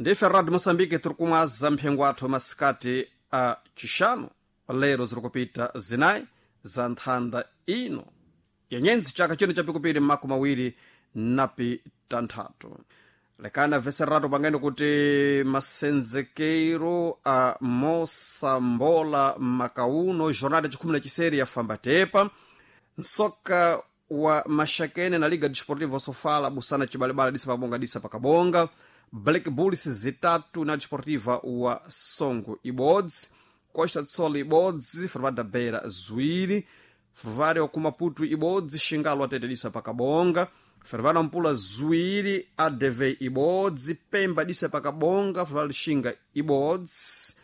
Ndife Radio Moçambique, tiri kumwaza mphengo athu masikati a chixano. Lero ziri kupita zinayi za nthanda ino yenyenzi chaka chino chapikupiri 2026. Lekana veseratu pangene kuti masenzekero a mosambola makauno jornada chikhumi na chiseri yafamba tepa. Nsoka wa Maxakene na Liga Desportiva Sofala busana chibalibala disa pabonga disa pakabonga. Black Bulls zitatu na Desportiva wa Songo ibodzi, Costa do Sol ibodzi, Ferroviário da Beira ziwiri, Ferroviário ku Maputo ibodzi, Xingalo atete disa pakabonga, Ferroviário Nampula ziwiri, ADV ibodzi, Pemba disa pakabonga, Ferroviário Lixinga ibodzi.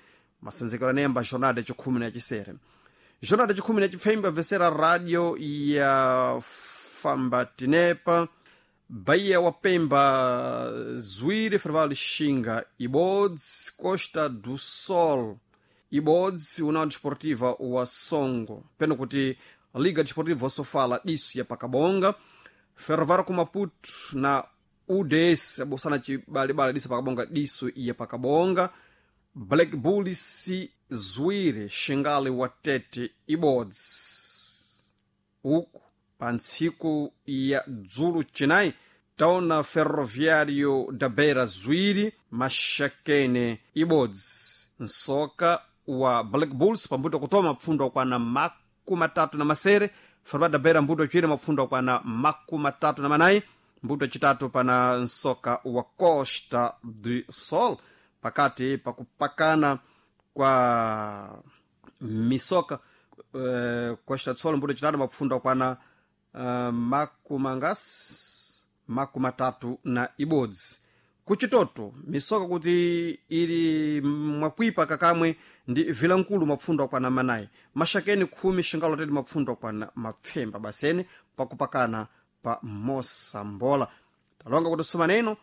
Masenzekero anemba jornada chikhumi na chisere. Jornada chikhumi na chipfemba vesera radio ya Fambatinepa. Bahia wa Pemba ziwiri, Ferroviário Lixinga ibodzi, Costa do Sol ibodzi, União Desportiva wa Songo peno kuti Liga Desportiva Sofala diso ya pakabonga, Ferroviário ku Maputo na UDS abosana chibalibala diso pakabonga diso ya pakabonga, Black Bulls ziwiri, Xingale wa Tete ibodzi. Uku pa ntsiku ya dzulo chinayi taona Ferroviário da Beira ziwiri, Maxakene ibodzi. Nsoka wa Black Bulls pambuto kutoma mapfundo akwana 37, Ferroviário da Beira mbuto chiwiri mapfundo akwana 34, mbuto chitatu pana nsoka wa Costa do Sol. Pakati pakupakana kwa misoka Costa do Sol mbuto chitatu mapfundo akwana makumangasi 31. Kuchitoto misoka kuti ili mwakwipa kakamwe ndi Vilankulu mapfundo akwana 4, Maxakeni 10, Xingalo tete mapfundo akwana mapfemba basene pakupakana pa mosambola. Talonga kuti somaneno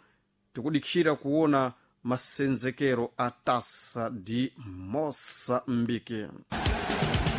tikudikira kuona masenzekero a Taça de Moçambique.